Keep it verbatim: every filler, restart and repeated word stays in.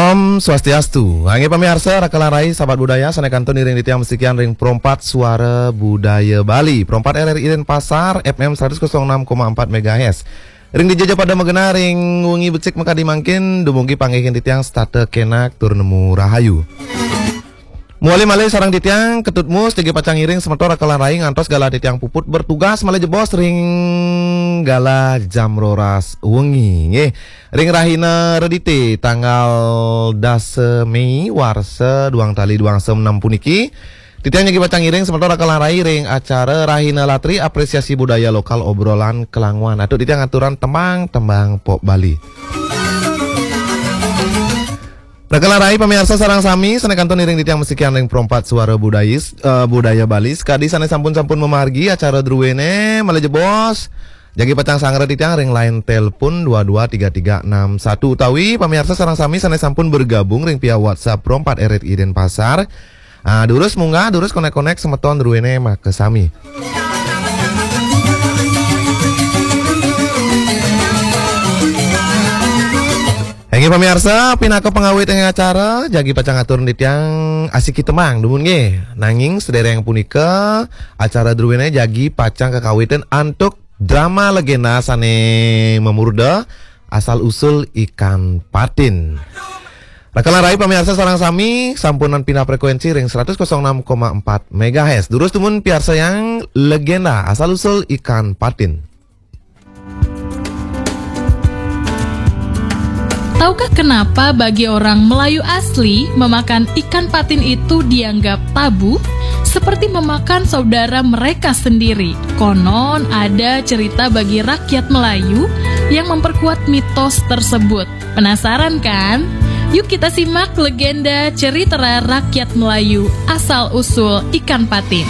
Om Swastiastu. Inggih pamiarsa, raka lan rai sahabat budaya, sané kantun iring titiang masikian ring Pro empat Suara Budaya Bali. Pro empat R R I Denpasar, F M seratus kosong enam koma empat megahertz. Ring dija ja pada magenah ring wengi becik makadi mangkin, dumugi panggihin titiang setata kenak tur nemu rahayu. Mawali malih sareng titiang Ketut Mus, jagi pacang ngiring semeton raka lan rai ngantos galah titiang puput bertugas malih jebos ring galah jam roras wengi. Nggih, ring rahina Redité tanggal dasa Mei warsa duang tali duang enem puniki, titiang jagi pacang ngiring semeton raka lan rai ring acara Rahina Latri Apresiasi Budaya Lokal Obrolan Kelangwan. Antuk titiang aturang tembang-tembang pop Bali. Raka lan rai pamiarsa sareng sami, sané kantun iring titiang masikian ring Pro empat Suara Budayis, eh, Budaya Bali, sakadi sané sampun-sampun mamargi acara druéné, malih jebos jagi pacang sangra titiang ring line telepon dua dua tiga tiga enam satu utawi pamiarsa sareng sami sané sampun bergabung ring via WhatsApp Pro empat R R I Denpasar. Ah, durus munggah, durus konek-konek semeton druéné makasami. Inggih pamiarsa, pinaka pangawit ing acara, jagi pacang atur titiang asiki tembang dumun nggih. Nanging sadéréng punika, acara druéné jagi pacang kakawitin antuk drama legenda sané mamurda Asal Usul Ikan Patin. Raka lan rai pamiarsa sareng sami, sampunang pindah frekuensi ring seratus kosong enam koma empat megahertz. Durus dumun piarsayang legenda Asal Usul Ikan Patin. Tahukah kenapa bagi orang Melayu asli memakan ikan patin itu dianggap tabu, seperti memakan saudara mereka sendiri? Konon ada cerita bagi rakyat Melayu yang memperkuat mitos tersebut. Penasaran kan? Yuk kita simak legenda cerita rakyat Melayu asal usul ikan patin.